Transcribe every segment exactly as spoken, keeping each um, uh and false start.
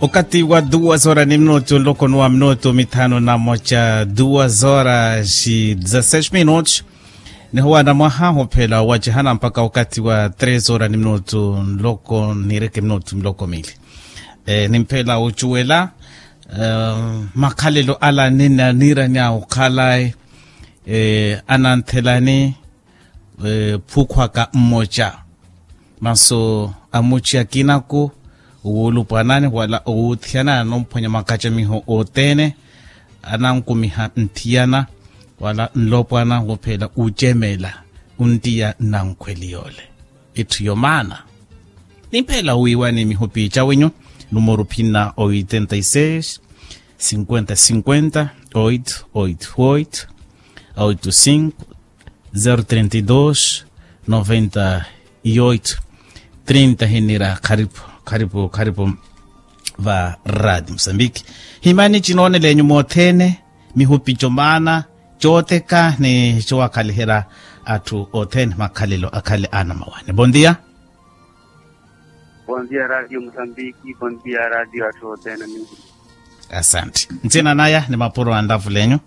Okati wa duwa zora ni minutu nloko nuwa minutu mithanu na moca duwa zora si dezasseis minutu. Nihowana mwaha hophela owacihana mpakha okati wa tres zora ni minutu nloko nireke minutu nloko mili. Nimphela ocuwela makhalelo ala nina niiranya okhalayi ananthelani phukhwaka mmoca. Masu amuci akinaku owulupwanani wala owuthiyana anomphwanya makacamiho othene anankumiha nthiyana wala nlopwana wophela ucemela. Ontiya nnankhweli yole itthu yomaana. Nimphela wiiwani mihupi cawenyu numero phina oitenta y seis cinquenta cinquenta oito oito oito oito cinco zero trenta y dos noventa y oito trinta hinira kharipu kharipu kharipu. Va radi musambiki himani cinooneleenyu moothene mihupi comaana cooteka ni cowaakhaliherya atthu othene makhalelo akhale anamawane bondia. Bondia radio musambiki bondia radio atthu othene. Asante ncina naya ni mapuro a nlavulenyu.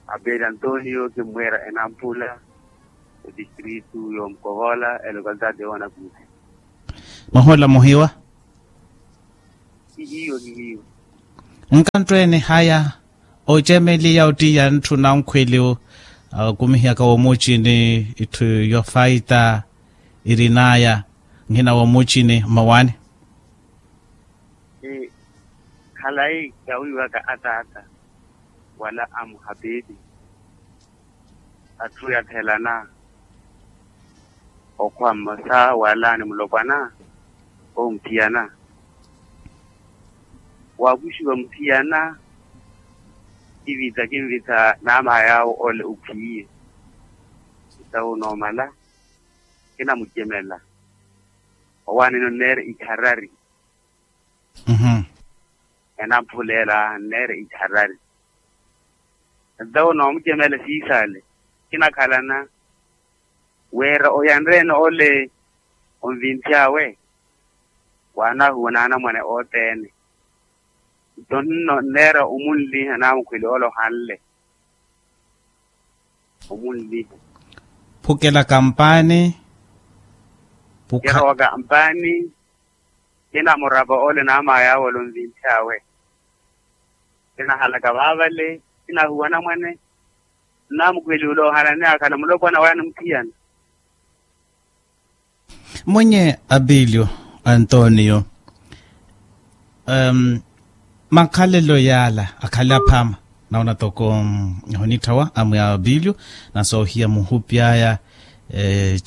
Abeli antonio kimmweera enampula odistritu y'omukovola elocalidade y'onakusi. Mwahola muhiwa. Kihiyo kihiyo. Nkanttwene haya ocemeliya ottiya ntthu nankhweliwo akumihiyaka womucini itthu yofaita irinaya nhina womucini mmawaani. Khalayi kawiiwaka ataata wala amuhapeeti atthu yathelana okhwa mmosa wala ni mulopwana omuthiyana wakuxiwa muthiyana. Kivita kinvita naamaya awo ole ukhwiye ita unoomala kinamucemela. Owaanini onneere ikharari. Enampulela nneere ikharari nto onoomucemela siisaale kinakhalana wira oyanreene ole onvinthi awe. Waanahuwa naanamwane othene nto nno nneera omunliha naamukhweli ole ohanle. Omunliha phukela kampaani. Kirowa kampaani kinamurapa ole naamaya awe ole onvinthi awe. Kinahalaka vaavale kinahuwa namwane nnamukhweli ole ohanani akhala mulopwana waya ni muthiyana. Mwenye abilio antonio makhalelo yaala akhale aphama. Nawona toko ehonitthawa amwe abilio na soohiya muhupi aya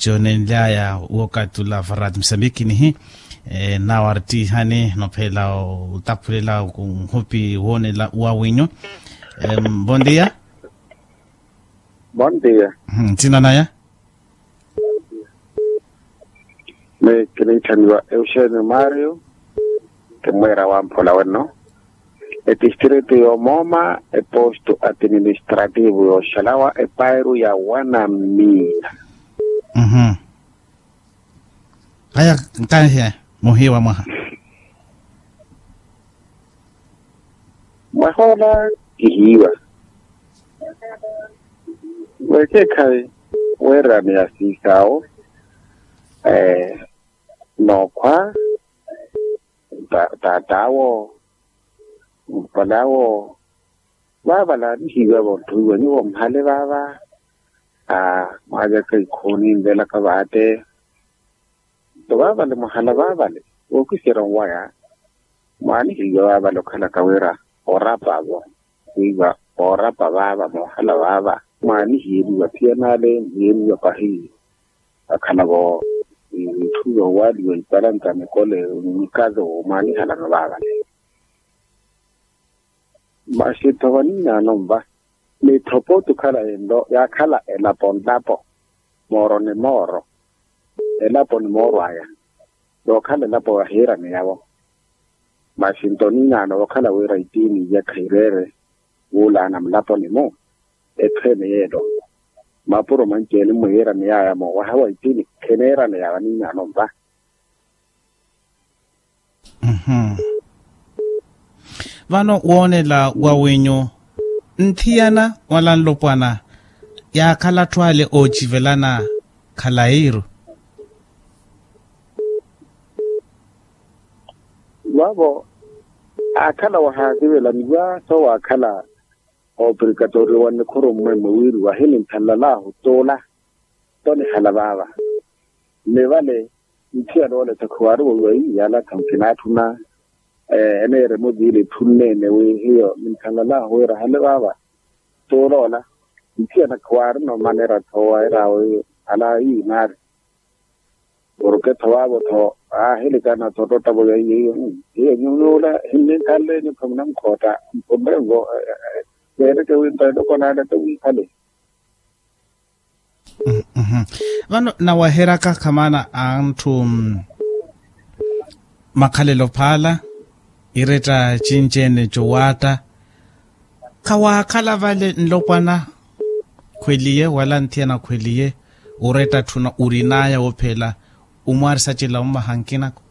coonenly'aya wookatula varati musambiki nihi nawartihani nophela otaphulela nhupi woonela wawinyu. Bon dia. Bon dia. Nthina naya. Meeyo kiniitthaniwa euxenio mario kimweera wamphola wenno etistritu y'omooma epostu atiministrativu y'oxalawa epairu ya wanamina. Aya nkanhe muhiiwa mwaha. Mwahoola kihiiwa weekeekhayi weerani ya siisaawo. Nookhwa taat'awo mpal'awo vaavale aanihiiwa vontthuwiwa nyuwo mhale vaava. Mwaaveka ikhooni nvelaka vaate nto vaavale mwahala vaavale vookiserya onwaya mwaanihiiwa vaavale okhalaka wira orapavo. Wiiva oorapa vaava moohala vaava mwaanihiiriwa thiyanale nhiyeeriwa pahi. Akhalavo itthu yoowaaliwa ipalanta mikole mikazo mwaanihalano vaavale. Masi tho vaniinaano nva mithopo otukhala ento yaakhala elapo nlapo mooro ni mooro. Elapo ni mooro aya yookhala elapo yahiirani yawo. Masi nto niinaano wookhala wira itiini iya khayireere wuulaana mulaponi-mu etthu ene yeelo mapuro manci-ene mmuhiirani yaya moowaha wa itiini kheneerani ya vaniinaano nva. Vano woonela wa wenyu nthiyana wala nlopwana yaakhala atthu ale oocivelana khalayiru. Vavo aakhala wahaasivelaniwa soowaakhala obrikatorio wa nnikhuru mmwemwe wiiriwa ahininthalala ahu tuula. Tonihala vaava ni vale nthiyana oole tha khuwaari wowiwa iyala tha nkinaatthuna. Eneeremo viile etthu nneene wi hiyo ninthalala ahu wira hale vaava. Tuula ola nthiyana khuwaarina omanera tho wairaawe. Ala ii naari orketho vaavo tho aahilikana tho ottavo ya hiyo hiyo nyuula hinninkhanle nyutho munamukhotta mpunre nvo. Veereke wi nto eloko naale tho wiikhale. Vano naweheryaka khamana a ntthu makhalelo phaala iretta cinci-ene cowaatta. Khawaakhala vale nlopwana khweliye wala nthiyana khweliye oretta tthuna orin'aya wophela omwaari sacela ommaha nkinako.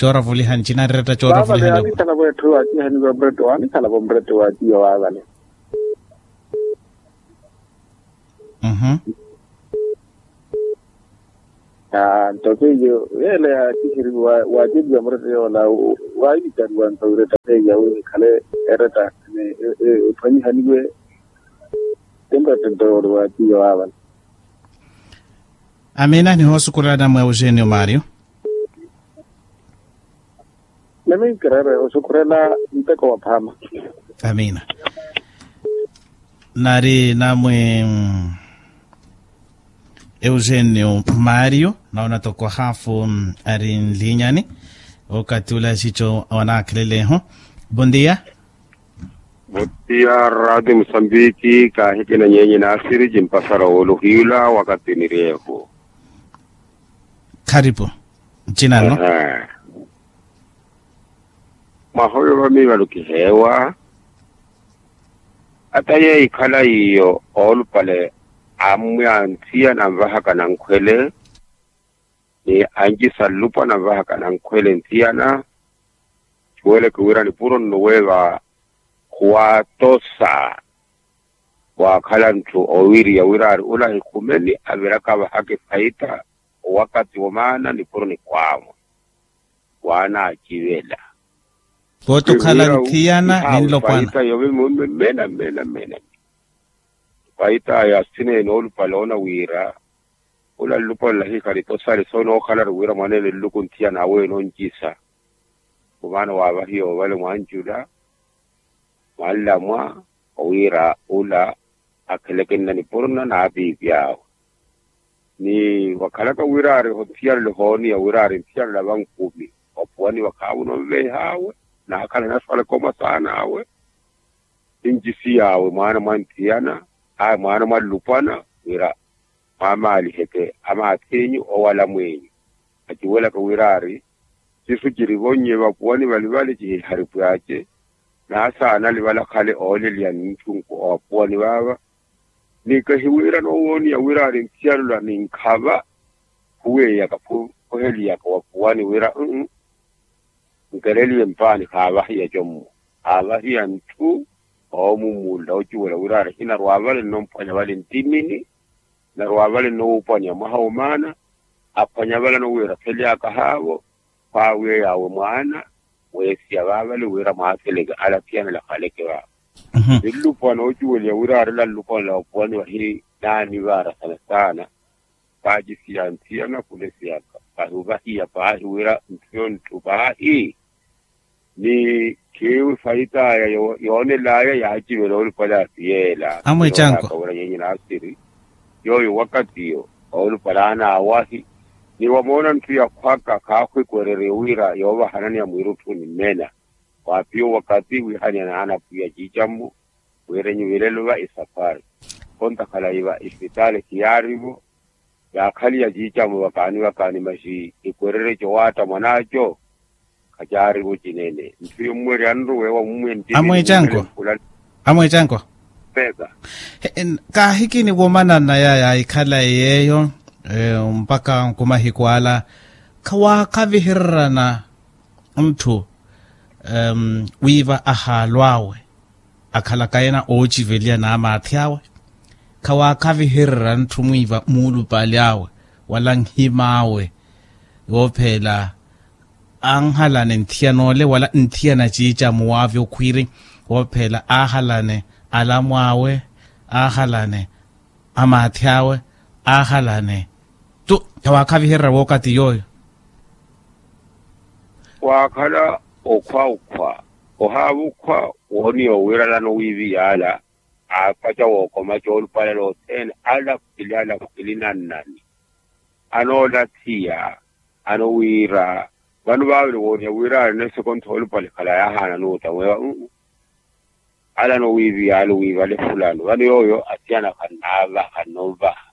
Cooravuliha ncina ariretta cooravuliha. Vavale anikhalavo etthu waacihaniwa murette wanikhalavo murette waaciya waavale. Nto keiyo yeela yaaciheriwa waaceriwa murette yoola waivitariwa nto wiretta seiya wi nikhale eretta ni ephwanyihaniwe. Timurette nto yoole waaciya waavale. Amiina nihoosukurela namwe eugenio mario. Nimi nkireere osukhurela nteko wa phaama. Amiina. Nari namwe eugenio mario naona toko haafu ari nlinyani. Okati ula xico wanaakhelelehu. Bondia. Bondia radio musambiki kaahikina nyenye naasiri cimpasara wooluhiyula wakati niryehu. Kharipu ncinano. Mwaha oyo vamiivalo kiheewa ata yeeikhala iyo oolupale ammwe a nthiyana anvahaka nankhwele ni ancisa nlupwana anvahaka nankhwele nthiyana. Cuweleke wira nipuro nno weeva khuwaatosa waakhala ntthu owiiriya wiraari ula ahikhumeni aviraka avahaka efaita owakati womaana nipuro nikhwaamwa waanaacivela. Pooti okhala nthiyana ninlopwana. Faita yove mena mena mena faita ya sineene olupale oona wira ula nlupale olahikhali tosali soonookhalari wira mwaneene nluku nthiyana awe nooncisa. Omaana waavahiya ovale mwancula mwanlamwa owiira ula akhelekenna nipuruna n'apiipi awe. Ni wakhalaka wiraari othiyana ole ohooniya wiraari nthiyana ole avankumi wapuwaniwa khaavo ononveiha awe naakhala naswalaka omasaana awe. Nincisiy'awe mwaana mwa nthiyana awe mwaana mwa nlupwana wira mwaamaaliheke amaathinyu owala mwinyu. Aciwelaka wiraari sisu cirivonnye vapuwani valivali cihiharipw'ace naasaana alivala khale ooleliya nintthunku owapuwani vaava. Ni kahiwiira noowoniya wiraari nthiyana ola ninkhava khuweeyaka khuheliyaka wapuwani wira nkeleliye mpaani khaavahiya commo khaavahiya ntthu oomummunla ociwela wiraari hinarwa vale nnomphwanya vale nttimini. Narwa vale nnowuupwanya mwaha womaana aphwanya vale anowiira khelyaka haavo khwaawiya yaawe mwaana weesiya vaavale wira mwaakeleke ala thiyana lakhaleke vaavo. Ni nlupwana ocuweliya wira arela nlupwana la opuwani vahi naanivaara sana sana. Paacisiya nthiyana khulesiyaka pahi ovahiya paahi wira ntthu yonttu paahi ni khiiwi fayit'aya yoonel'aya yaacivela olupale asiyeela amwecanko wira nyenye naasiri yooyo wakatiyo olupale anaawahi ni wamoona ntthu yakhwaka khaakhwikwererye wira yoovahananiya mwiirutthuni mmena. Waapiya owakati wiihaniya naanapwiya ciicammo wira enyu vilelo va isaphwari. Kontakhala iva isipitaali khiyaarivo yaakhaliya ciicammo vakaani vakaani maxi ikwererye cowaatta mwan'aco. Khacaarivo cinene ntthu yommweryanru weewa mummwe nttiini amwecanko. Amwecanko peka. Kaahikini womanana yaya ikhala yeeyo mpakha nkumahiku ala khawaakhavihererana ntthu Wiiva ahaalw'awe akhalaka ena oociveliya n'amaathi awe, khawaakhavihererya ntthu mwiiva muulupali awe wala nhim'awe. Yoopheela anhalane nthiyana ole wala nthiyana ciica muwaavya okhwiiri, woopheela aahalane alamu awe, aahalane amaathi awe, aahalane tu. Khawaakhavihererya wookati yooyo. Waakhala okhwa okhwa, ohaava okhwa wooniya owiiralana owiiviyaala, aapaca wookoma coolupale lothene ala khwili ala khwili nannani. Anoolathiya anowiira vano vaavele wooniya wira aari nesekontha olupale khala yaahaana nuuta mweewa. Ala anowiiviyaala owiivale fulano vano yooyo athiyana khannaavaha khannovaha,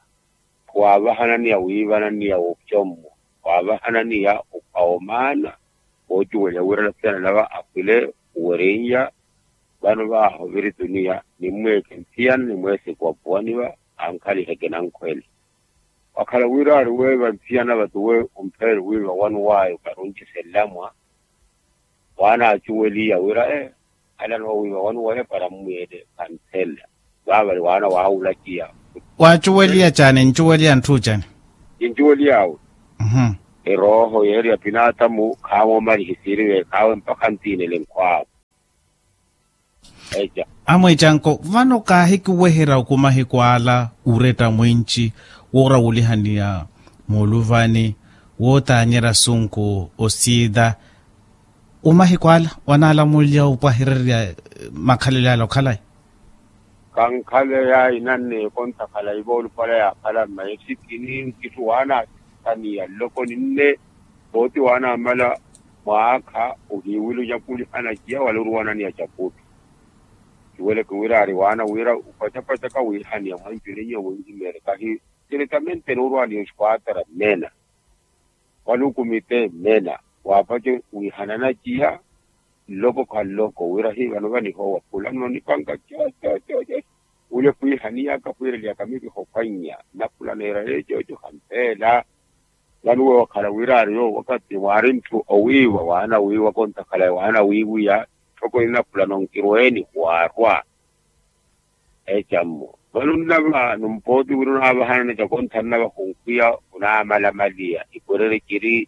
khwaavahananiya wiivananiya wocommo, khwaavahananiya okhwa omaana. Woocuweliha wira alasiyana lava akhwile owereiya. Vano vaaha ovirituniya nimmweeke nthiyana nimweeseke wapuwaniva, ankhaliheke nankhwele. Wakhala wira aari weeva nthiyana vatuwe, ompheele wiiva wanu waayo kharuncise nlamwa. Waana aacuweliya wira ee, ala anoowiiva wanu waya para mmwiile khanthela. Vaavale waana waawulaciya. Waacuweliya caani ncuweliya ntthu caani? Kincuweliy'awe. Erooho yeeri ya pinaatamu khaamomalihi siiri veekh'awe mpakha ntiinele nkhw'awe. Amwiicanko vano kaahikiweherya oku mahiku ala oretta mwinci, woorawulihaniya muuluvani, wootaanyerya asunku osiita. Omahiku ala wanaalamuliya opwahererya makhalelo ala okhalayi? Khankhaleya inanneekontha khalayi voolupale yaakhala mmayi sikini nkitthu waana asikaniya nloko ninne. Pooti waana amala mwaakha ohiiwile ocakulihana ciya wala oruwananiya cakutthu. Kiweleke wira aari waana wira opacapacaka wiihaniya mwancu ninye winhimeerye kahi. Tiritamente noorwaniya oskwatara mmena wala okumite mmena, waapace wiihanana ciya nloko khanloko wira hii vano vanihowa fulano nipanka. Cocococo wule khwiihaniyaka khwiireliyaka mikiho khwannya. Nna fulano eeraye coco khampeela. Vano uwe wakhala wira aari yoowo wakati mwaari ntthu owiiwa waana wiiwa kontakhala waana wiiwiya. Tthoko nina fulano nkirweeni waarwa. Ecammo vano nnava numpooti wira onaavahanana cakontha nnava khunkwiya onaamalamaliya ikwerere ciri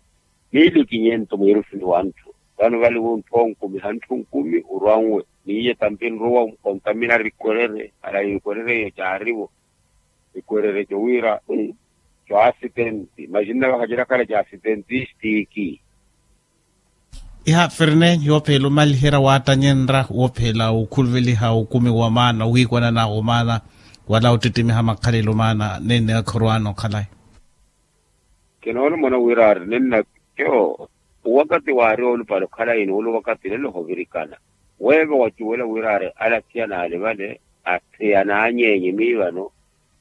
miili kinyento mwiirufini wa ntthu. Vano vale wuntthwa onkumiha ntthu nkumi orwa nwe niiye tampi nrowa ontamina rikwerere ala ikwerere eyo caarivo. Ikwerere co wira co asitenti maxinna vakhacerakhala ca asitentistiki. Iha ferne yoophela omaliherya waattanyenrya woophela okhuluveliha okumi wa maana owiikwanana omaana wala ottittimiha makhalelo maana nenne akhorwaana okhalayi. Kinoona omona wira ari ninna co owakati waari olupale okhalayi ni olo owakati lelo ohovirikana. Weeva wacuwela wira ari ala athiyana ale vale atheya naanyeenye miivano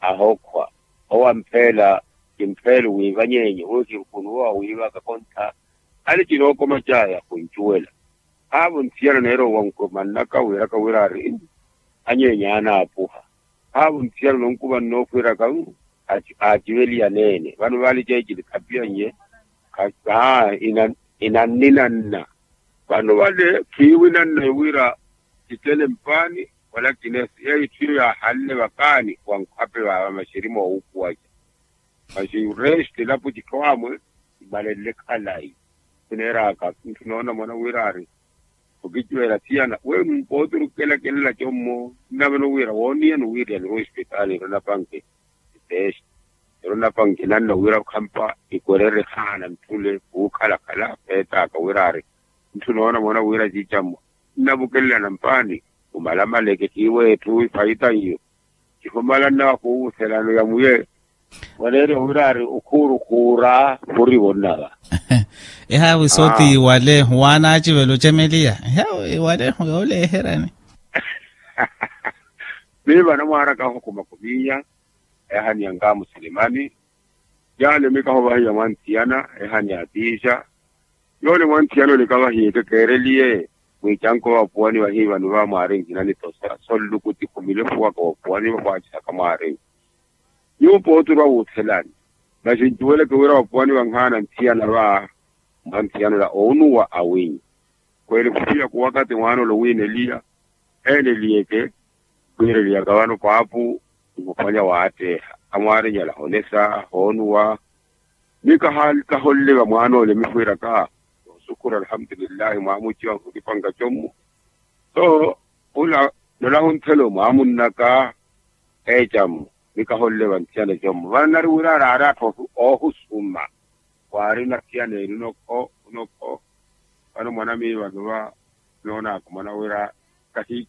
ahokhwa owo ampheela kimpheelo wiiva nyeenye owo kirukunuwa wiivaka kontha. Ale kinookoma caaya khuncuwela haavo nthiyana neeroowa nkuma nnaka wiiraka wira ari anyeenya anaapuha. Haavo nthiyana nonkuva nnoofwiiraka aaciveliya neene vano vale ceecili khapiyannye. Inanninanna vano vale khiiwinanna wira kicele mpaani wala kinesi yeyo itthu iyo yaahanle vakaani wa nkhape vaava maxerimo wa wuupuwaca. Maxi resti lapo citthu amwe imalenle khalayi. Sineeraka ntthu noona mwana wira ari okicuwela thiyana we mpooti orukukelakelela commo nnavano wira wooniya ni wiiriya nirwa ospitaali nirwa napanke. Iteexa nirwa napanke nanna wira khampa ikwerere haana ntthule khuukhalakhala peetaaka wira ari ntthu noona mwana wira ciicammo nnavukelela nampaani. Omalamaleke khiiwe etthu ifayita iyo kihumala nnawa khuwuselano ya muye. Waneerya wira ari okhuurukhuura khurivo nnava. Ehaawi sooti iwaleehu waana acivela ocemeliya ehaawi iwaleehu yooleeheryani. Miiva anamwaaraka aho khumakumiya eehaniya nkamusilimani. Yaale mikaho vahiya mwanthiyana eehaniya atiixa. Yoole mwanthiyana olikavahiye kekeereliye mwiicanko vapuwani vahiivani vamwaari nhinanitosa sonlukuti khumilefuwaka vapuwani vakhwaacisaka mwaari. Nyuwo pooti orwa wuuthelani maxi ncuweleke wira vapuwani vanhaana nthiyana va mwanthiyana ola oonuwa awinyi. Kweli khupiya kuwakati mwaana ole owiineliya eeneliyeke. Khwiireliyaka vano paapu, nkhufanya waatteeha amwaarinyala honesa hoonuwa. Ni kaholliva mwaana ole mikhwiiraka, osukhura alhamdulillahi mwaamuciwa nkhukipanka commu. So, ula nolahunthela omwaamunnaka ecamu, ni kaholliva nthiyana commu vano nari wira araari atthu oohusuma. Waari nathiyana eri unokho unokho. Vano mwanamiiva nova noonaakumana wira kahi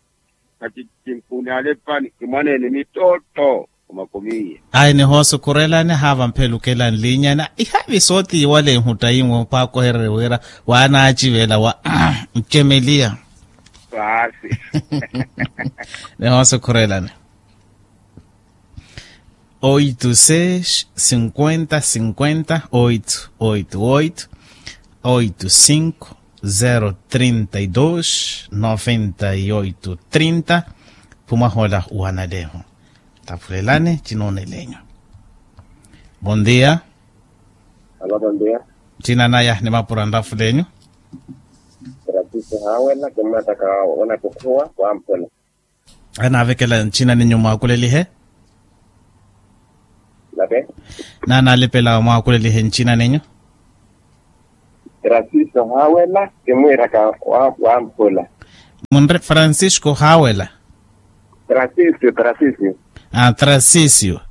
kacicinkuuni alepani kimwaneene mittootto. Omakumiiye. Ayi nihoosukhurelani haava mphelukela nlinyana ihavi sootiiwale nhuttayi nwe opaakohererye wira waanaacivela wa ncemeliya. Paasi. Nihoosukhurelani. Oito seis cinquenta cinquenta oito oito oito, oito cinco zero trinta e dois noventa e oito trinta. Phumwahola uwanalehu. Tafulelani cinooneleenyu. Bondia. Alo bondia. Cina naya ni mapura nrafulenyu. Ratisi hawela kimwataka. Onakukhuwa wampula. Anaavekela ncina nenyu mwaakulelihe. Nave. Naanaalipela mwaakulelihe ncina nenyu. Trasiso hawela kimwiraka. Wampula. Munre francisco hawela. Trasisio trasisio. Ah trasisio.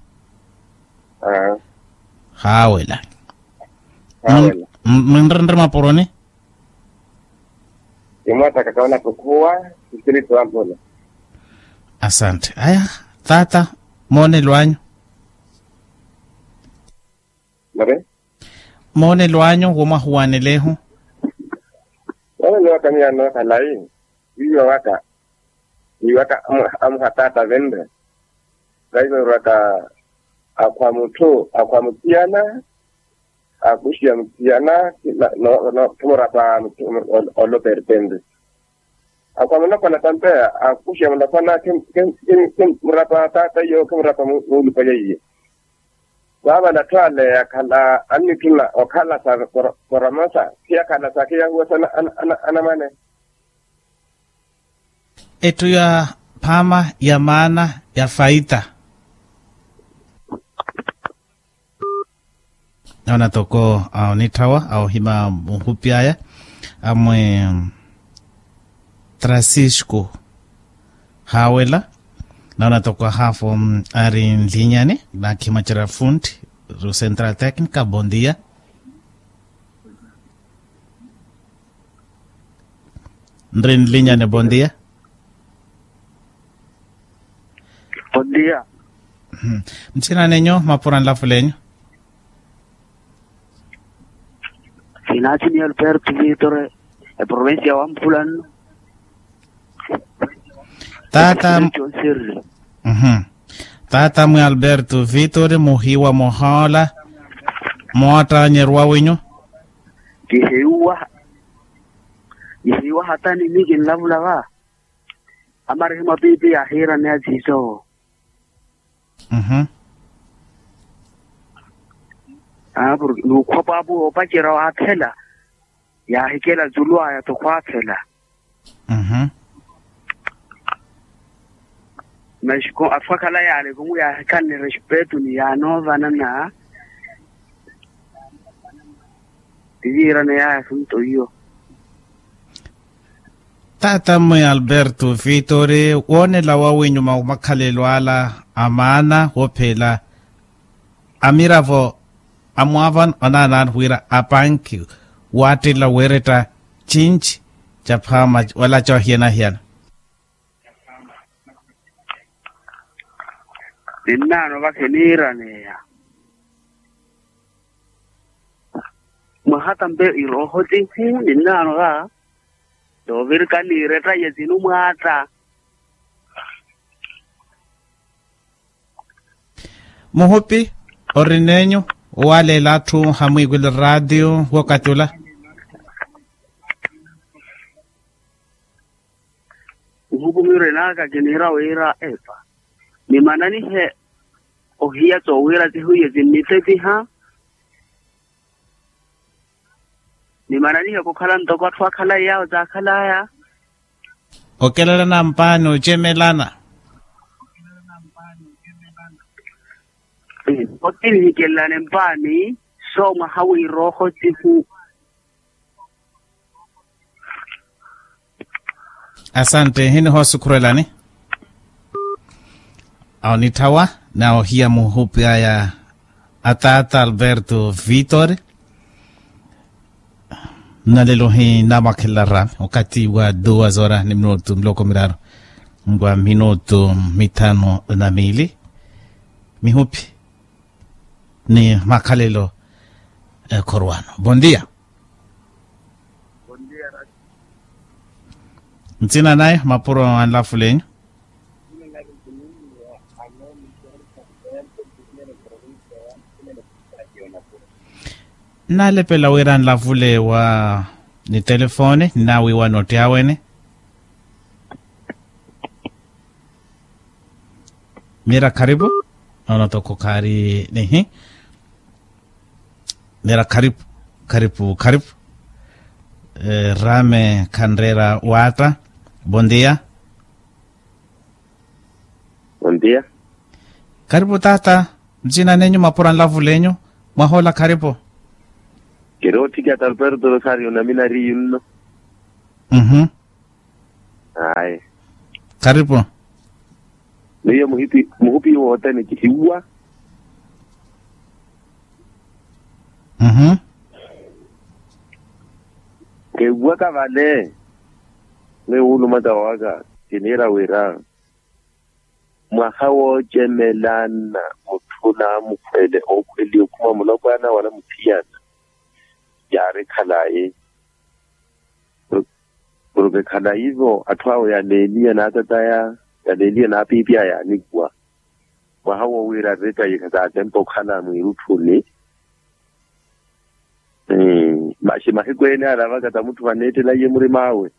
Hawela. Hawela. Munrenre mapuroni. Imwataka kaona kukhuwa. Sisiriti wampula. Asante aya. Tata, moonelo anyu. Mare. Moonelo anyu womwahuwanelehu. Moonelo waka miya nookhala ii. Wiiwa waka. Wiiwa waka. Amuha tata venre. Vaivo erwaka. Akhwa mutthu akhwa muthiyana. Akuxiya muthiyana. Khimurapa. Olopertente. Akhwa mulopwana tampeya akuxiya mulopwana. Khimurapa tata iyo khimurapa. Muulupale iyo. Vaavala atthu ale yakhala annitthuna okhala sa. Koromosa khiyakhala sa khiyahuwasa. Anamwane. Etthu ya phaama ya maana ya faita. Naona toko aonitthawa aohima muhupi aya. Amwe trasisco hawela. Naona toko ahafo ari nlinyani. Naakhimacerya funti ru central tecnica bondia. Nri nlinyani bondia. Bondia. Nthina nenyu mapura nlafulenyu. Sinatini alberto vitore. Eprovincia wamphula nno. Tata. Tata mwi alberto vitore muhiwa muhoola. Moottanyerwa winyu. Kihiyuwa. Kihiyuwa hatani mi kinlavula va. Amarihimwa piipi yaahiiraneya ciico. Aa porke nuukhwa paapo yoopacerya waathela. Yaahikela culu aya tokhwaathela. Mas atthu akhala yaale kumu yaahikhanne respeto ni yaanoovanana. Tiviirana yaaya asunto iyo. Tata mwe alberto vitori woonela wawinyuma wa makhalelo ala a maana woophela amiravo amwaava onaanaani wira apanki waattila weeretta cinci ca phaama wala ca ohiyana-hiyana. Ninnaano va khiniiraneya. Mwaha tampe irooho tihu ninnaano va toovirikani iretta yetinu mwaatta. Muhupi orinenyu owaaleela atthu hamwiikwile raatiyo wokatula. Muhupi mirenaka kiniira wira epa nimananihe ohiya towira tihuye tinnitetiha. Nimananiheke okhala ntoko atthu akhala iyaawo taakhalaya. Okelela nampaani ocemelana. Otinihikellane mpaani. So mwaha w'irooho sihu. Asante hinihosukhurelani. Awo nitthawa nawo hiya muhupi aya. Ataata alberto vitor. Nnalelo hinamwakhelela rami okathi wa duwa zora ni minutu miloko miraru. Ngwa minutu mithanu na miili. Mihupi ni makhalelo. Ekhorwano bondia. Ntsina naye mapuro anlafulenyu. Nnalepela wira nlavule wa ni telefoni nnawiiwa notti awene. Mira kharipu. Nono toko khaari nihi. Mira kharipu kharipu kharipu. Rame khanreera waatta. Bondia. Bondia. Kharipu taata. Ntsina nenyu mapura nlavulenyu. Mwahola kharipu. Kiri otthiki ata alberto rosario naminariyu nno. Ayi. Kharipu. Miyo muhupi muhupi wothene kihiwa. Kehiwaka vale. Miyo wulumata waka kiniira wira mwaha woocemelana mutthu na mukhwele ookhweliye okhuma mulopwana wala muthiyana. Yaari khalayi. Porke khalayi-vo atthu awo yaneeniya n'atataya yaneeniya n'apiipiya yaanikuwa. Mwaha wo wira aretaye-kha saatempa okhala mwiirutthuni. Masi mahiku ene alavaka ta mutthu vaneettela iye murim'awe.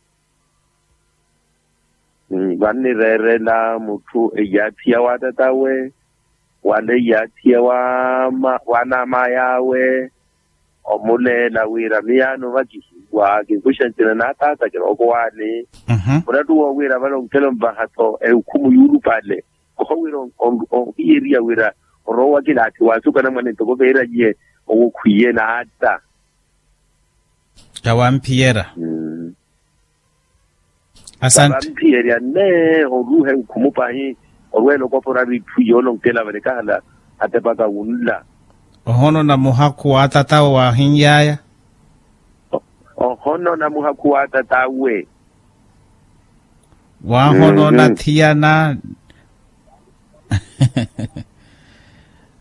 Vannireerela mutthu eyaathiya wa tatawe wala eyaathiya wa anamaya awe. Omuleela wira miyaano vakihiwa kinkuxa ntsina na taata kirooko waani. Murattu woowiira vale onkela onvaha-tho eukhumu yuulupale. Oho wira ohiyeriya wira oroowa kilaathi waasuka namwane ntoko veeraiye owo khwiye naata. Tawamphiyera. Asante. Vamphiyerya nne oruuhe nkhumu pahi orweela okopora vitthu yoolonkela vale kahala atepaka wunla. Ohonona muhakhu wa atatawe waahinyaaya. Ohonona muhakhu wa atatawe. Waahonona thiyana.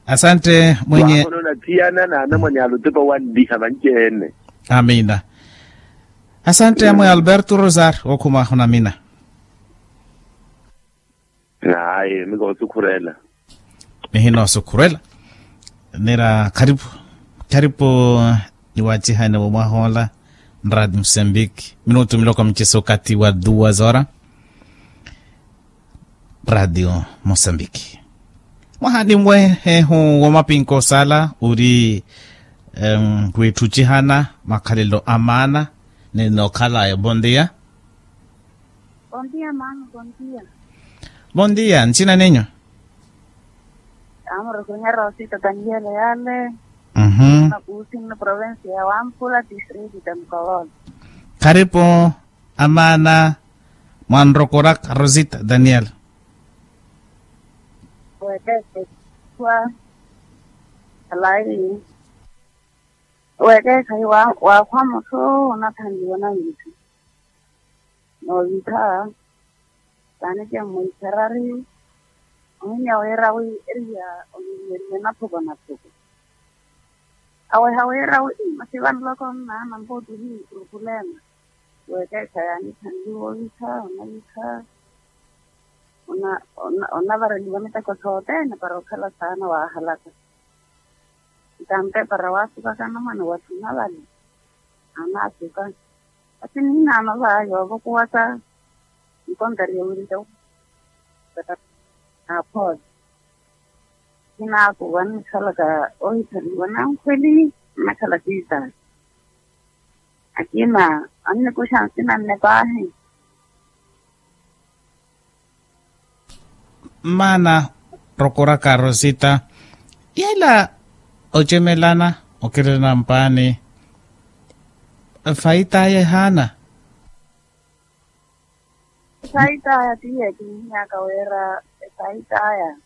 Asante mwenye. Waahonona thiyana na anamwane alutepa wanliha vanci-ene. Amina. Asante amwe alberto rosario okhuma ahonamina. Ayi mikoosukhureela. Mihinoosukhurela. Nira kharipu kharipu. Niwacihane womwahoola. Nradio musambiki minutu miloko miceso okathi wa duwa zora. Nradio musambiki. Mwaha nimwe ehu womapinka osala uri. Wiitthucihana makhalelo a maana. Ni nookhalaya bondia. Bondia maana bondia. Bondia ntsina nenyu. Amurekunyera osita daniele yale. Mhm. Makuusi nno provensi ya wampula distriti de mukolola. Kharipu amaana. Mwanrokoraka rosita daniele. Wekeekha iwa alayi. Wekeekha iwa waakhwa mutthu onathanliwa na wiitthu. Noovitha saani kemwiitherari. Ohinya wira wi eriya oninyeriwe nathuko nathuko. Aweha wira wi masi vanloko nnaana mpuuttuhi rukulena. Wekeekha yaanithanliwa ovitha onavitha. Onavareliwa miteko sothene para okhala saana waahalaka. Ntampe para waasukaka anamwane watthu navale. Anaasuka. Ati niinaano va yoovokuwaka. Nkontarya wira. Naaphoola. Kinaakuwa nnikhalaka ohithaniwa nankhweli. Nnakhala kiitaani. Akina annikuxa nsina nne paahi. Mmaana rokoraka rosita yela ocemelana okirina mpaani. Faitaya ehaana. Efaitaya tiye kinihiyaka wira efaitaya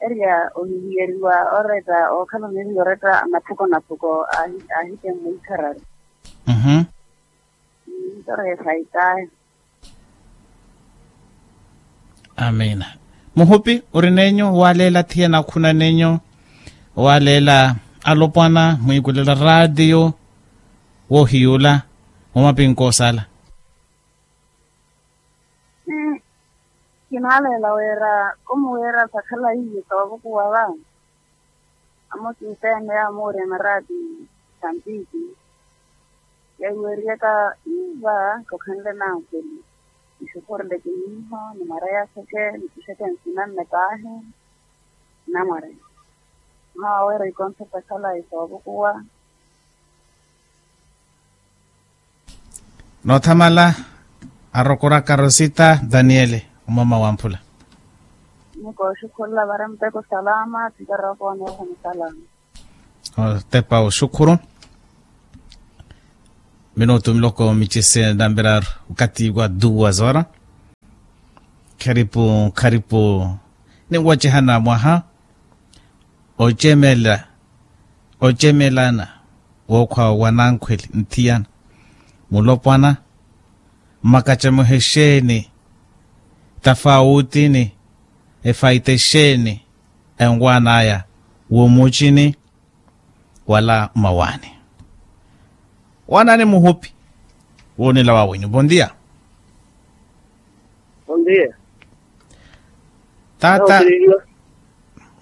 eriya ohihiyeeriwa oretta ookhala oniriya oretta anaphuko naphuko. Ahite mmwikhararu. Ntori efaitaya. Amiina. Muhupi ori nenyu waaleela thiye nakhuna nenyu waaleela alopwana mwiikulela raatiyo woohiyuula mumapinko osala. Kinaaleela wira kumuwira sakhalayi soovukuwa va. Amosi nseene yaamuurya maraati sampiki yaiweriyaka iva kokhanle nankhweli. Nixukhureleke miiho ni mara yaaxeke nikuxeke nsina nne paahi. Namware mawawera ikonso sakhalayi soovukuwa. Noothamala arokoraka rosita daniele omama wamphula. Nikooxukhurula vari muteko salama tikarokoone oho musalama. Otepa oxukhuru. Minutu miloko micise namberaaru wakati wa duwa zora. Kharipu kharipu. Ninwacehana mwaha ocemela ocemelana wookhwa wa nankhweli nthiyana mulopwana mmakacemuhe exeeni tafawutini efaita exeeni enwan'aya womucini wala mmawaani. Wanani muhupi woonela wawenyu bondia. Bondia. Tata.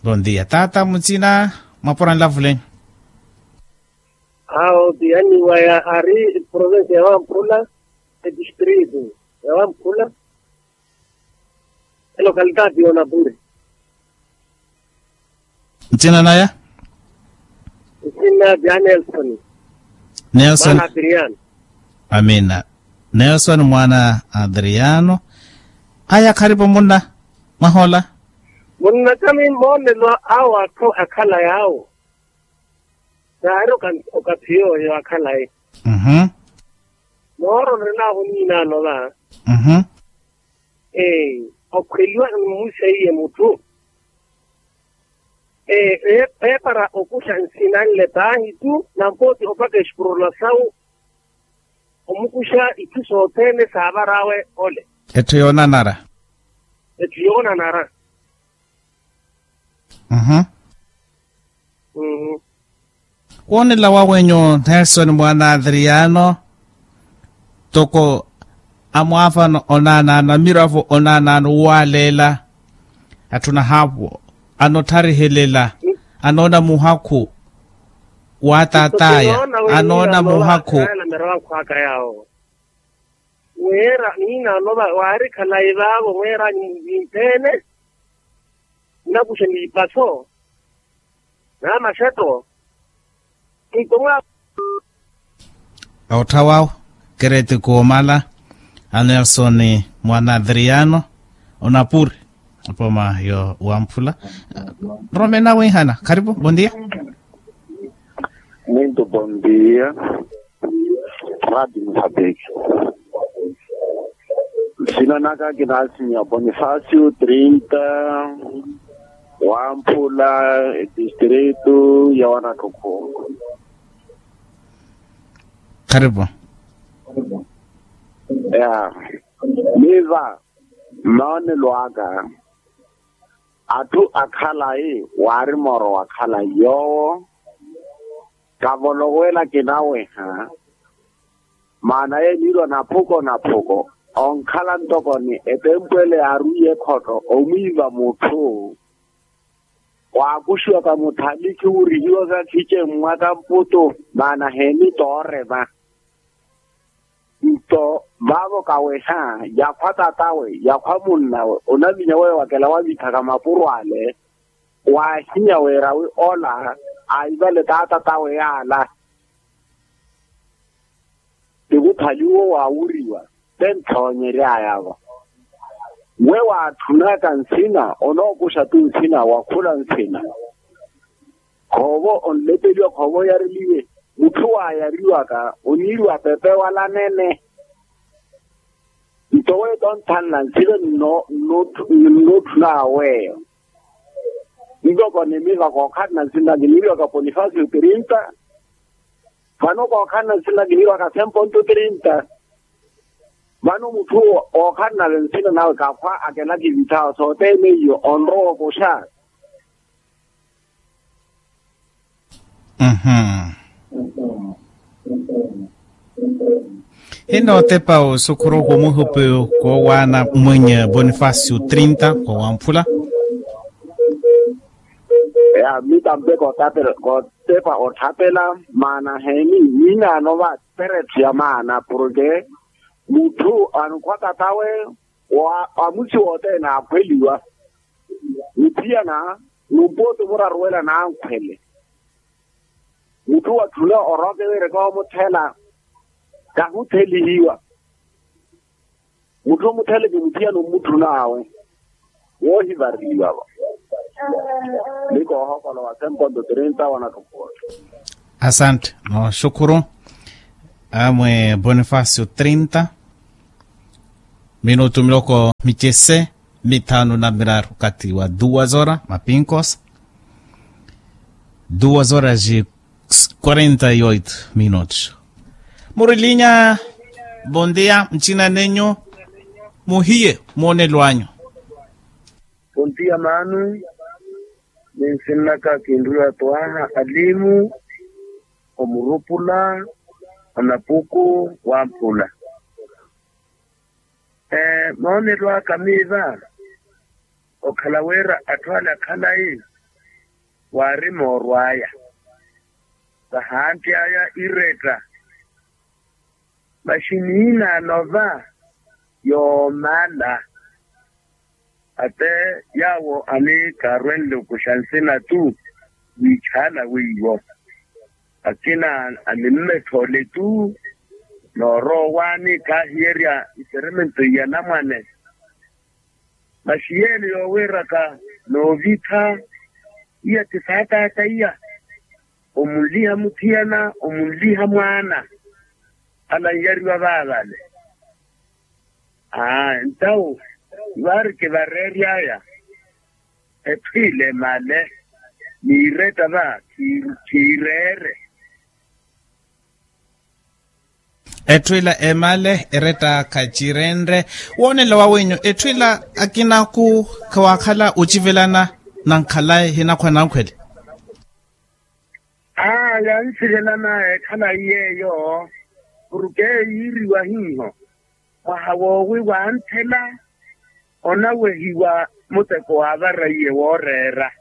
Bondia tata mutsina mwapora nlavulenyu. Awo ti anniwaya ari province ya wamphula, etistrito ya wamphula, elocalidade yonapuri. Ntsina naya? Ntsina bya nelson. Nelson. Amina. Nelson mwaana adriano. Aya kharipo munna mwahola. Munna kami moonelo awo atthu akhala yaawo. Saari okathi yooyo akhalayi. Mooro nrinaawo niinaano va. Ee, okhweliwa mmusa iye mutthu. Ee, eepara okuxa nsina nle paahi tu nampooti opaka exipurula sawu. Omukuxa itthu sothene saavar'awe ole. Etthu yoonanara. Etthu yoonanara. Woonela wawenyu nelson mwaana adriano. Toko amwaafano onaanaano amiravo onaanaano wuwaleela. Atthu nahaapo anotharihelela anoona muhakhu. Wa taataya anoona muhakhu. Wira niinaano waari khalayi vaavo mweeranyu mumpimpheene. Nnakuxe niipaso na maxetto. Nto mwa. Otthawawo kereti koomala a nelson mwaana adriano onapuri. Apoma yo wamphula. Romena wihana kharipo bondia. Muito bondia. Radi musabiki. Sina naka kinasinya bonifacio trinta wamphula distrito ya wanathukhu. Karibu. Ya miva mmaonelo aka atthu akhalayi waari mooro wakhalayi yoowo. Kavolowela kinaweha maana yeeniirwa naphuko naphuko onkhala ntoko ni etempwele yaarwiye ekhotto omwiiva mutthu. Waakuxiwaka mutthalikhi wurihiwaka khice mmwaka mputu maana heeni toorema. Nto vaavo kaweha yakhwa tatawe yakhwa munnawe onaminya weyo wakela wavithaka mapuro ale. Waahinya wira wi ola aivale taatatawe yaala. Khali uwo waawuriwa te nthoonyeryaya-vo. We waatthunaka nsina onookuxa-tho nsina wa khula nsina. Khoovo onlepeliwa khoovo oyareliwe. Mutthu waayariwaka oniiriwa pepe wala nene. Nto weyo tonthanla nsina nnootthunaka weyo. Ntoko ni miva kookhalana nsina kiniiriwaka ponifasio trinta. Vano kookhalana nsina kiniiriwaka semponto trinta. Vano mutthu ookhalana nsina nawe kakhwa akela kivithawo sothene iyo onrowa okuxa. Hino otepa osukhuru kumuhupi koowaana mwenye bonifacio trinta kowamphula. Ya mitampe kotepa othapela maana heni? Niinaano va peretho ya maana porke mutthu ankhwa tatawe wa amusi wothene akhweliwa. Niphiyana numpooti omuraruwela nankhwele. Mutthu watthuna orooke wira koomuthela kahuthelihiwa. Mutthu omuthele kimuthiyana omutthun'awe woohivareliwa-vo. Ni koohokolowa semponto trinta wanatthu. Asante nooxukhuru. Amwe bonifacio trinta minutu miloko micese mithanu na miraru okathi wa duas horas mapinkos. Duas horas e quarenta e oito minutos. Murilinya. Bondia mchina nenyu. Muhiye mwonelo anyu. Pontia maanu. Ninsinnaka kinriwa twaha alimu omurupula onapuku wamphula. Moonelo aka miiva okhala wira atthu ale akhalayi waari moorw'aya vahanty'aya iretta. Masi niinaano va yoomala ate yaawo anikaarwenle okuxa nsina tu wiichaala weiwo akina animmethoole tu noorowa waani kaahiyerya iseremento iya namwane. Masi yeelo yoowiiraka noovitha iya ti saataata iya omunliha muthiyana omunliha mwaana. Alanjariwa vaavale. Aa ntawu vaari kivareery'aya etthu ile emale niiretta va khiireere. Etthu ila emale eretta khacirenre. Woonela wawenyu etthu ila akinaku khawaakhala ocivelana na nkhalayi hinakhwa nankhwele. Aa yansivelana ekhalayi yeeyo purke yiiriwa hiiho mwaha woowi wanthela onawehiwa muteko waavara iye wooreera.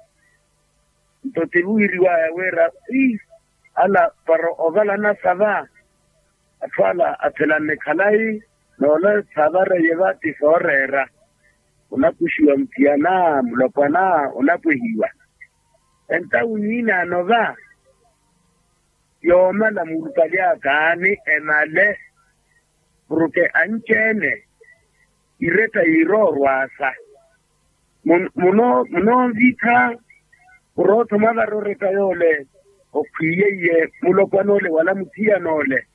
Nto ti wiiriwaya wira wi ala para ovalana sava atthu ala athelana ekhalayi noola saavara iye va ti sooreera. Onakuxiwa muthiyana mulopwana onapwehiwa. Entawu niinaano va yoomala muurupali aka ni emale purke anci-ene iretta yiiroorw'asa. Munoonvitha murootho mwavara oretta yoole okhwiiye iye mulopwan'ole wala muthiyan'ole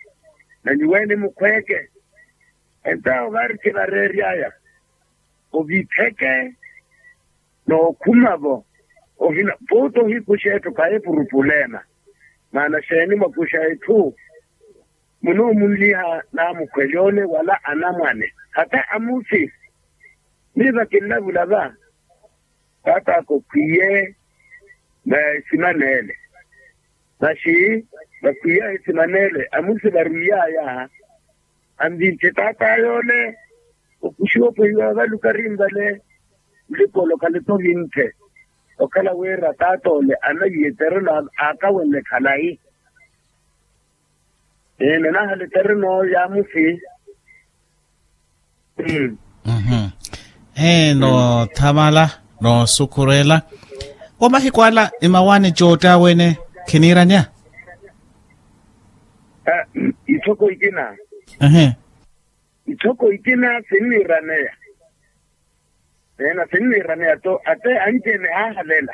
na nyuweene mukhweeke. Entawo vaari kivareery'aya ovitheke nookhuma-vo ohina pooti ohikuxa etthu khayi purupulema. Maana xeeni mwakuxa etthu munoomunliha naamukhweli ole wala anamwane hata amusi. Miiva kinlavula va taat'aka okhwiye na esiman'ele. Masi vakhwiya esiman'ele amusi varwiy'aya anvince taat'aya ole okuxiwa opwehiwa valuka rinvale. Nlikolo khaletovince okhala wira taat'ole anahiye tereno aakawenle khalayi. Nanahala etereno yaamusi. Ehe noothamala noosukhurela. Wa mahiku ala emawaani cootta aweene khiniiranya. Ithoko ikina Ehe. Itthoko itina sinniiraneya. Eena sinniiraneya to ate anci-ene haahalela.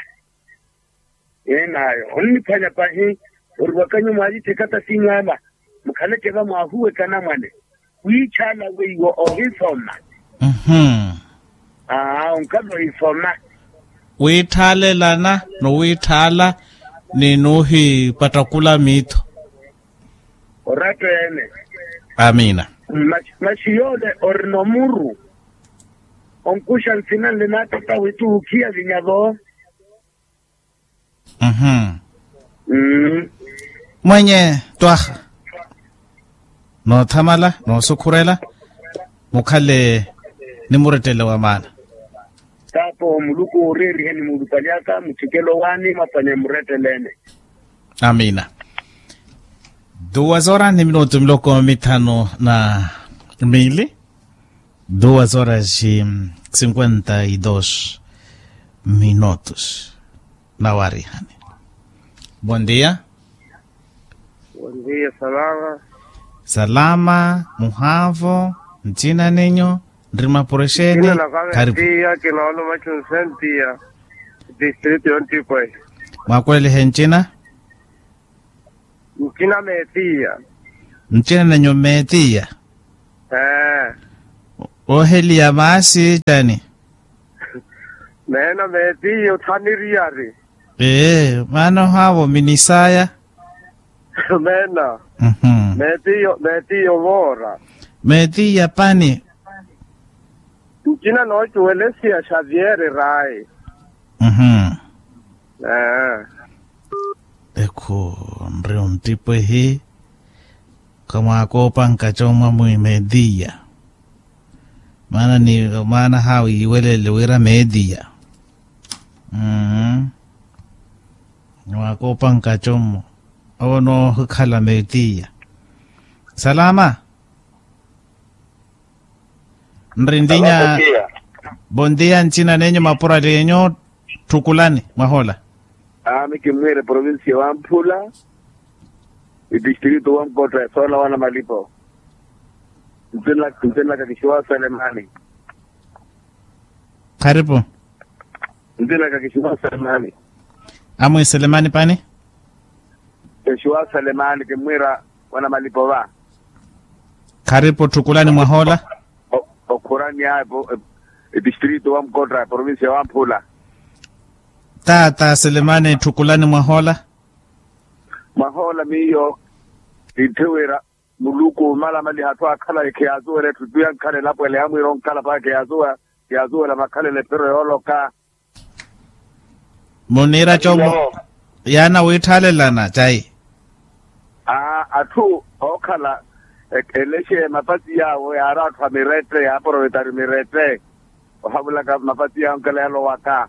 Eena ayo onniphwanya pahi. Oriwaka nyuwo mwaalittheka ta sinyu ala. Mukhaleke va mwaahuweka anamwane. Wiitthaala weiwo ohisoma. Mhm. Aa onkhala ohisoma. Wiitthaalelana ni wiitthaala ni nuuhipattakula miitho. Oratta ene. Amiina. Maxi yoole orina omuru. Onkuxa nsina nle naattotta wittu wukhiya vinya vo. Mhm. Mwenye twaha noothamala noosukhurela. Mukhale ni murettele wa maana. Taapo muluku ooreeriheni muulupalyaka muthikelo waani mwaphwanye muretteleene. Amiina. Duwa zora ni minutu miloko mithanu na miili. Duwa zora si sinkwenta y dos minutus. Nawarihani. Bon dia. Bon dia salama. Salama muhaavo. Ncina ninyu nri mapuro exeeni? Karipu. Kinoolo machu nsentia. District yontipwe. Mwakulelihe ncina? Ncina meetiya. Ncina nenyu meetiya. Ee. Ooheliya maasi cani? Meena meetiya othaniriyari. Ee maana ohaavo minisaya. Meena. Meetiya meetiya ovoora. Meetiya pani. Ncina noocuwelesiya xavier rayi. Ee. Ekhu nri ontipwehi kamwaakoopanka comwa mwi meetiya. Maana ni maana haawi yiwelele wira meetiya. Mmm. Mwakoopanka comwa owo noohikhala meetiya. Salama. Nri ndinya. Bon dia ncina nenyu mapurali enyu. Tthukulani mwahola. Ami kimmwiire provincia wa mphula. Itistrito wa mkotta esoola wana malipo. Ntinlaka kixiwa selemani. Kharipu. Ntinlaka kixiwa selemani. Amwi selemani pani. Exiwa selemani kimmwiira wana malipo va. Kharipu tthukulani mwahola. Okhurani apo. Etistrito wa mkotta provincia wa mphula. Taata selemani tthukulani mwahola. Mwahola miyo. Itthiwira muluku malamaliha atthu akhalayi khiyaazuwela etthu tu yankhala elapwela yamwiira onkhala paka khiyaazuwela makhalela ephiro yooloka. Muniira comu. Yaana wiitthaalelana cayi. Atthu ookhala elexe mapasi yaawo yaari atthu a mirette yaaprovetari mirette. Ohavulaka mapasi yaawo onkhala yalowaka.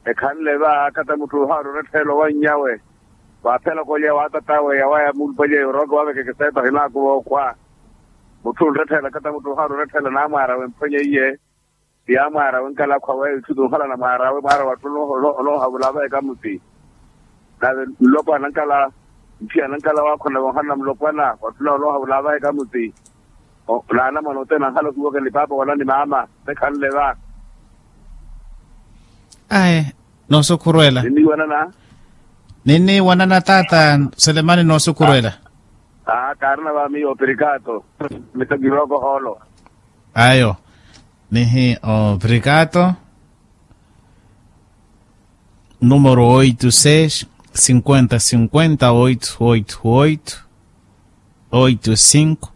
Ekhanle va kata mutthu ohaari orettha elowa nnyawe. Waaphela kolya waatataawe yawaya muulupalya yorooka wavekeke seeta ohinaakuva okhwa. Mutthu onretthela kata mutthu ohaari oretthela naamwaarawe mphwenya iye. Ti yaamwaarawe nkalakhwa weyo itthu tunhalana mwaarawe mwaara wattu. Onoohavula avaheka muti. Nave nlopwana nkala ntthiyana nkala waakhona vonhalana mulopwana wattu nawe onoohavula avaheka muti. Naanamwana othene anhala ohiwaka ni paapa wala ni maama mekhanle va. Ayi. Noosukhurwela. Ninniiwanana. Ninniiwanana taata selemani noosukhurwela. Aa kaarina va miyo oprikato. Mitokiroko hoolo. Ayo. Nihi oprikato. Numero oito seis cinquenta cinquenta oito oito oito oito cinco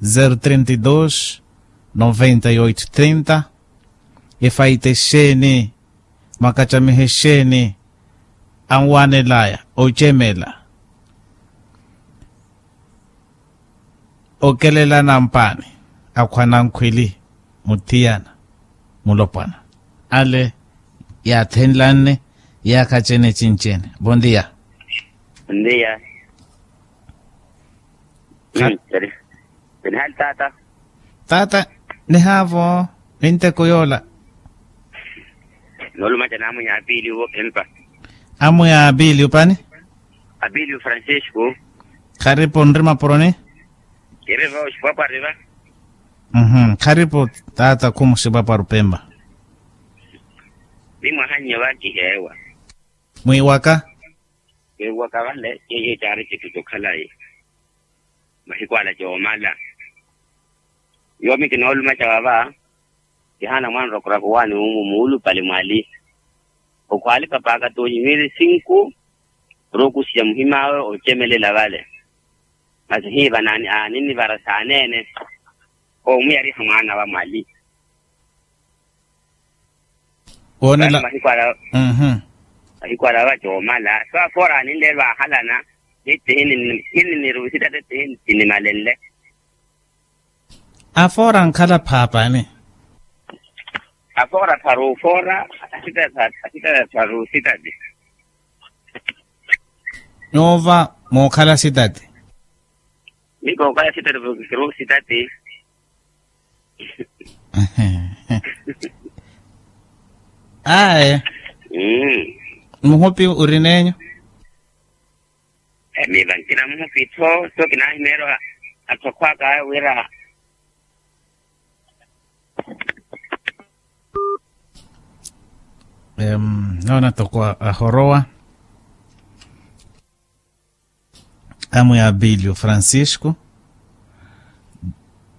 zero trinta e dois noventa e oito trinta. Efaite exeeni. Mwakacamihe exeeni anwanelaya ocemela. Okelelana mpaani akhwa nankhwili muthiyana mulopwana ale yaathenlanne. Yaakhaccene cincene bondiya. Bondiya. Kha- Nihali taata. Taata nihaavo ninteko yoola. Noolumaca n'amwiya apiili wo empa. Amwiya apiili opani. Apiili francisco. Kharipu nri mapuroni. Kiri va oxipwapwari va. Mmm kharipu. Taata khumu xipwapwari opempa. Ni mwahannye va kiheewa. Mwiiwaka. Mwiiwaka vale yeye caari citthu cokhalayi. Mahiku ala coomala. Yoomi kinoolumaca vava. Kihaana mwaana orakuraka owaani wumu muulupale mwali. Okhwaali papaaka toonyi miili sinku. Orookusiya muhim'awe ocemelela vale. Masi hiiva aaninivara saaneene. Oomuyariha mwaana va mwali. Woonela. Mahiku ala. Mahiku ala vacoomala so afoora aninleelo aahalana. Nitti hininiruwisita tetti hinimalenle. Afoora ankhala phaapani. Afoora tharu foora. Asitata tharu sitati. Nyuuva mookhala sitati. Ni kookhala sitati vookisiru sitati. Aye. Muhupi orin'enyu? Miiva nkina muhupi tho so kinahimeerya. Atthu akhwaaka aya wira. Noona toko ahorowa. Amwe abilio francisco.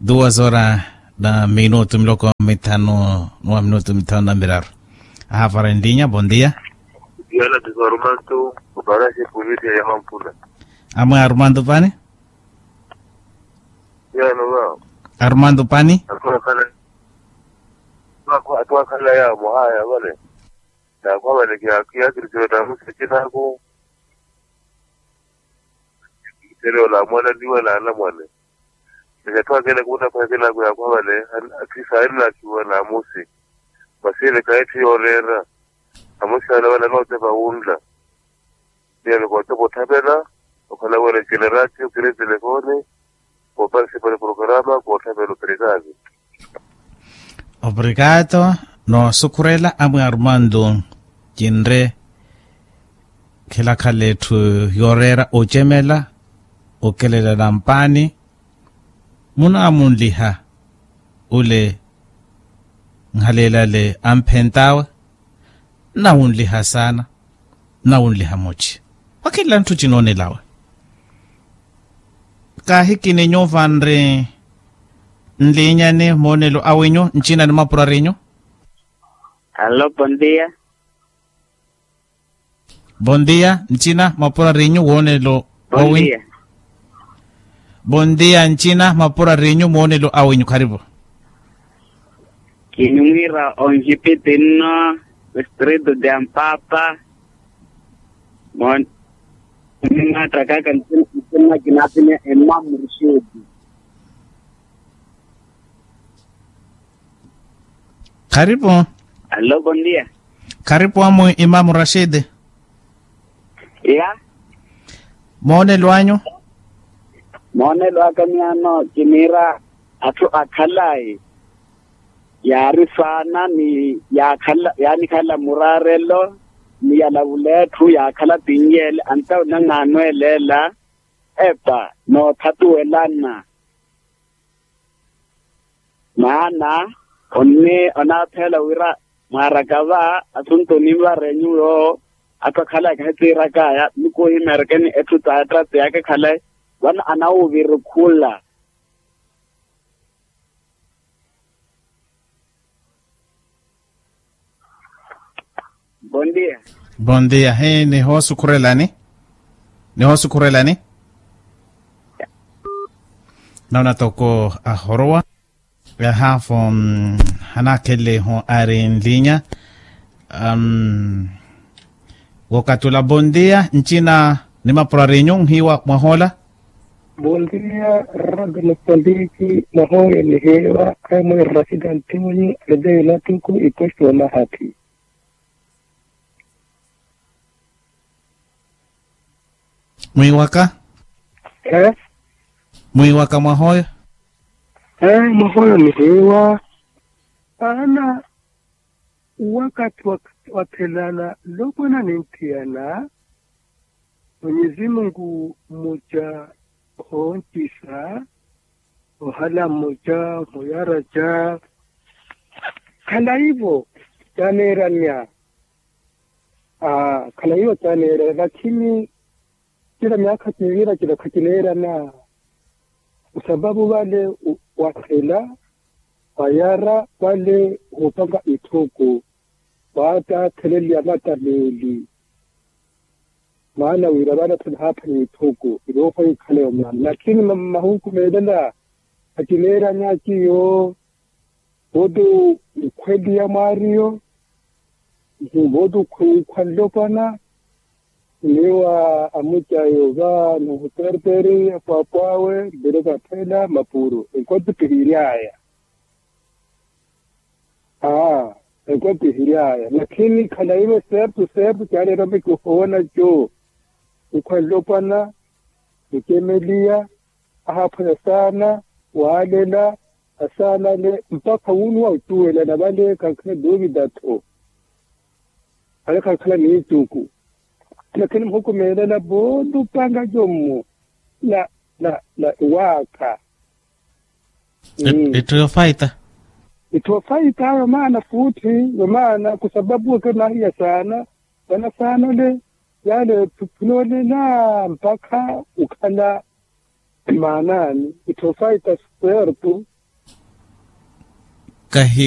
Duas horas na minutu miloko mithanu. Nwa minutu mithanu na miraru. Ahafara enlinya bondia. Yala tisarumantu. Oparasi pulisi ya hampula. Amwe arumantu pani. Yano vao. Arumantu pani. Atwakhala yamo haya vale. Nakhwavale kiyaakirisiwe tamusi acinako. Kiterewo namwananiwe nanamwane. Nikatthu akene kuuttaphweke naku yaakhwavale. Akhisa arinnakiwa namusi. Masi ene kahitthu yooreera. Amusi ale vale anootepa wunla. Iyano kootepa otthapela. Okhala wira generatio kiri telefoni. Kooparisipa ni programa kootthavela operikato. Operikato. Noosukhurela amwe arumantu. Kinre khilakhala etthu yooreera ocemela. Okelela nampaani. Munaamunliha. Ole. Nhalelale amphentaawe. Nnawunliha saana. Nnawunliha muci. Wakhinla ntthu cinoonelawe. Kaahikini nyuuva nri nliinyani moonelo awinyu ncina ni mapurarinyu. Alo bondia. Bondia ncina mapurarinyu woonelo wawinyu. Bondia ncina mapurarinyu moonelo awinyu kharipu. Kinimwiira onxipiti nno. Distrito de ampapa. Mon. Nimaattakaka ncinna kinaapini emamu rixeeti. Kharipu. Alo bondia. Kharipu amu imamu rashidi. Iya. Moonelo anyu. Moonelo aka miyano kiniira atthu akhalayi. Yaari saana ni yaakhala yaanikhala muraarelo ni yalavula etthu yaakhala pinyeele antauna n'anweeleela. Epa noothatuwelana. Maana onaaphela wira mwaaraka va asuntu onimvarenyu yoowo. Atthu akhala akahitiirakaya nikuhimeerekeni etthu t'attratsi yaakakhalayi vano anawuvirukula. Bondia. Bondia hii nihoosukhurelani. Nihoosukhurelani. Noona toko ahorowa. Ehaafu hanaakhelehu ari nlinya. Wokatula bondia ncina ni mapurarinyu nhiiwa mwahola. Bondia rado mosambiki mwahola nihiiwa. Amwe rashidi antimunyu alidei natuku iposto wa mahathi. Mwiiwaka. Mwiiwaka mwahoyo. Mwahoyo nihiiwa. Aana wakati wathelana lokwana ninthiyana. Mwenyezi mungu muca. Hooncisa. ohala mmoja muyaraja. Khalayivo caneeranya. Khalayivo caneeranya lakini cila myaakha ciivira cila khacineerana. Osapapu vale wakhela wayara vale woopanga itthuku waataatheleliya matameeli. Maana wira vale athela haaphanya itthuku iroofwa ikhaleyo maana lakini mahuku meelela. Khacineeranya ciyo. Vooti nkhweliya mwaariyo. Vooti nkhwa nlopwana niwa amucayo va nuhuterteri apwaapwaawe mbele vaphela mapuru enkotipihiryaya. Aa enkotipihiryaya lakini khalaive sertu sertu caaleera mekihowona co. Nkhwa nlopwana mucemeliya ahaaphwanya saana waalela asaanale mpakha wunuwa ocuwelana vale khankhala duuvita-tho. Vale khankhala niituku lakini muhukumeelela voolupanga jommo na na na iwaakha. Itthu yofaita. Itthu yofaita yomaana fuuthi yomaana kusapapu weke nahiya saana vana saanale yale phinolela mpakha ukhala maanaani itthu yofaita. Sertu kahi